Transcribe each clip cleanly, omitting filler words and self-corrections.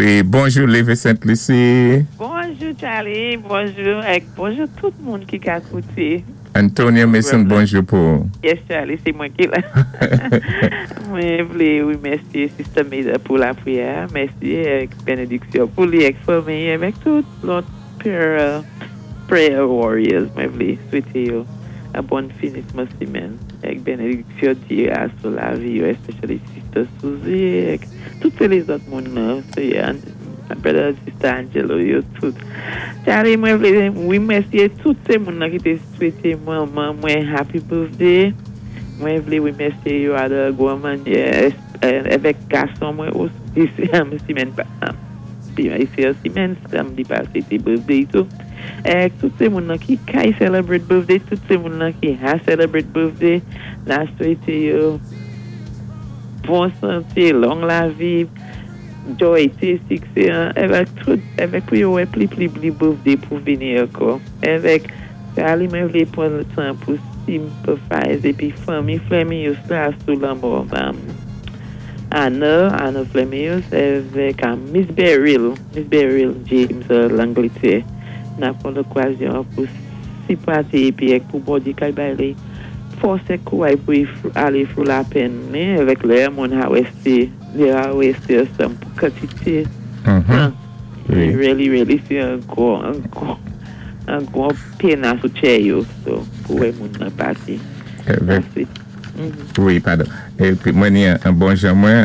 Wi, bonjou Lévé Sainte-Lucie. Bonjou Charlie, bonjou èk bonjou tout moun ki ka kouté. Antonia Mason, pwogram la. Bonjou pou ou. Yes Charlie, sé mwen ki la. Mwen vlé wimèsyé Sister Meda pou lapriyè a. Mèsi èk benediksyon pou li èk fanmi avèk tout lòt prayer prayer warriors. Mwen vlé swété yo an bon finisman simèn èk benediksyon Dyé a sou lavi yo, especially Sister Suzie èk tout sé lézòt moun nan se Brother and Sister Angelo yo tout. Charlie, mwen vlé wimèsyé tout sé moun nan ki té swété manman mwen happy birthday. Mwen vlé wimèsyé yo a de gwan mannyè èvèk gason mwen osi simèn se simèn samdi pasé té birthday tou. Èk tout sé moun nan ki kay celebrate birthday, tout sé moun nan ki ha celebrate birthday, na swété yo bon santé, long lavi, joy, siksé èvèk tout èvèk pou yo wè pli pli pli birthday pou vini ankò. Èvèk Charlie, mwen vlé pwan tan pou sympathize épi fanmi Flemius la sou lanmò Anna, Anna Flemius èvèk Miss Beryl, Miss Beryl James Langletè. Na pwan lokazyon pou sipòté épi èk pou Bondyé kay bay li fòs èk kouway pou i alé through lapèn ni èvèk lè moun ha wè sé lè ha wè sé ansanm pou kantité tan. Really really sé an gwo an gwo an gwo pena sou tchè yo so pou wè moun nan pati. Wi, padon. Épi mwen ni an bon jan mwen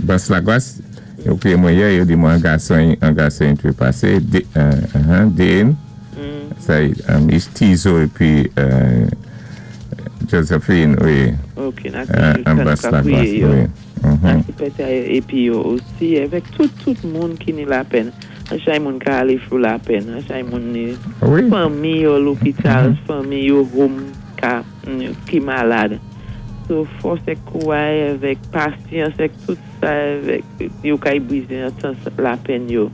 Bas Lagwas, yo kwiyé mwen yè, yo di mwen an gason yi twépasé, Dane, sa yi Tizo épi Josephine, wi. Ok, na toujou an tann Bas ka Lagwas, kwiyé yo. Wi. Na sipète épi yo osi èvèk tout tout moun ki ni lapèn. An chay moun ka alé through lapèn, an chay moun ni fanmi yo lopital, fanmi yo home ka ki malad. So fòs èk kouway èvèk pasyans èk tout sa èvèk yo kay bwizé an tan lapèn yo.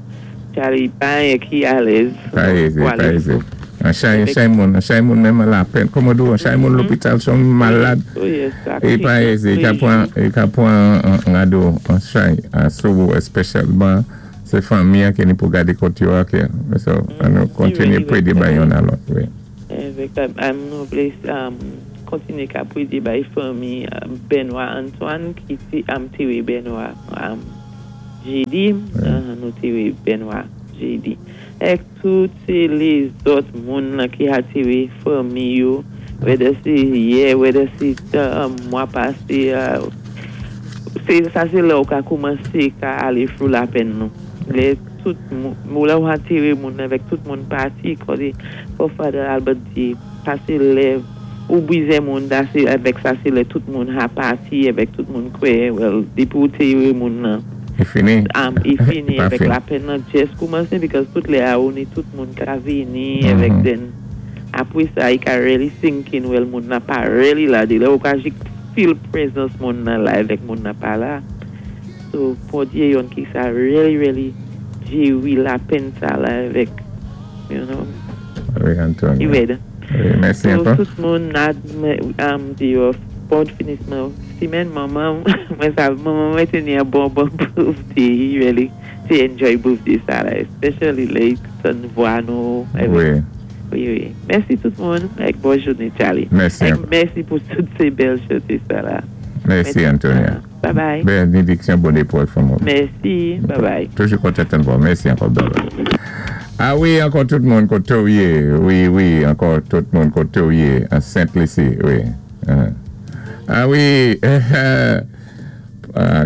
Charlie, pa anyen ki alèz Pa ézé, pou pa alé ézé. through. An chay, an Èvèk chay moun, an chay moun menm an lapèn. Kòman di ou, an chay moun lopital son malad. Oh yes, sa I pa kritik ézé, i ka pwan, toujou. I ka pwan an rado an chay a sou ou espèsyalman sé fanmi an ki ni pou gadé kot yo a ke so an nou I kontinyé really pwédé bay youn a lòt, wi. Èvèk nou vlé kontinyé ka pwédé bay fanmi Benoît Antoine ki té antéwé Benoît jédi, nou téwé Benoît jédi. Èk tout sé lézòt moun lan ki antéwé fanmi yo, whether sé yè, whether sé mwa pasé, sé sa sé lè ou ka koumansé ka alé through lapèn nou. Lè tout moun, lè ou antéwé moun avèk tout moun pati, kòdé fò Father Albert di, sa sé lè ou bwizé moun da sé avèk sa sé lè tout moun ha pati avèk tout moun kwè, well, dépi ou téwé moun nan, I fini. I fini Pa avèk fini. Lapèn nan just koumansé because tout lè a ou ni tout moun ka vini avèk then apwé sa i ka really sink in, well, moun nan pa really la dé lè ou ka jis feel presence moun nan la avèk moun nan pa la. So Bondyé youn ki sa really really jéwé lapèn sa la avèk Wi, i Antonia. Rèd. Wi, mèsi So ankò. Tout moun na di yo bon finisman simèn. Manman mwen sa, manman mwen té ni an bon bon birthday, really té enjoy birthday sa la, especially lè i tann vwa nou avèk Wi, mèsi tout moun èk bon jouné, Charlie. Mèsi Èk ankò. Mèsi pou tout sé bèl chanté sa la. Mèsi, Mèsi. Antonia. Bye bye. Benediksyon Bondyé pou fanmi. Mèsi, bye bye. Toujou kontan tann vwa. Mèsi ankò. Bye bye. A wi, ankò tout moun koté ou yé. Wi, ankò tout moun koté ou yé. An Sainte-Lucie, wi. A wi,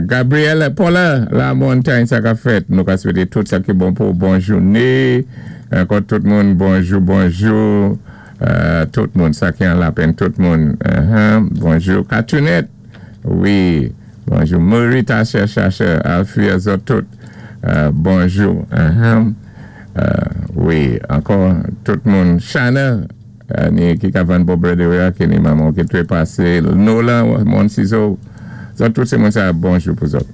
Gabriel Paula, La Montagne, sa ka fèt. Nou ka swété tout sa ki bon pou bon jouné. Ankò tout moun, bonjou, bonjou. Tout moun, sa ki an lapèn, tout moun. Bonjou. Katunette, wi. Bonjou. Marie Tacher, Chacher, Alfie, zòt tout. Bonjou. Wi, ankò tout moun. Chana, ni ki ka vann bòbrèd a, ki ni manman ki twépasé. Nolan, Mon Ciseau. Zòt tout sé moun sa, bonjou pou zòt.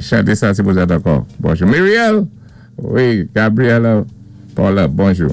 Chanté sa sé pou zòt ankò. Bonjou. Muriel, wi, Gabriela, Paula, bonjou.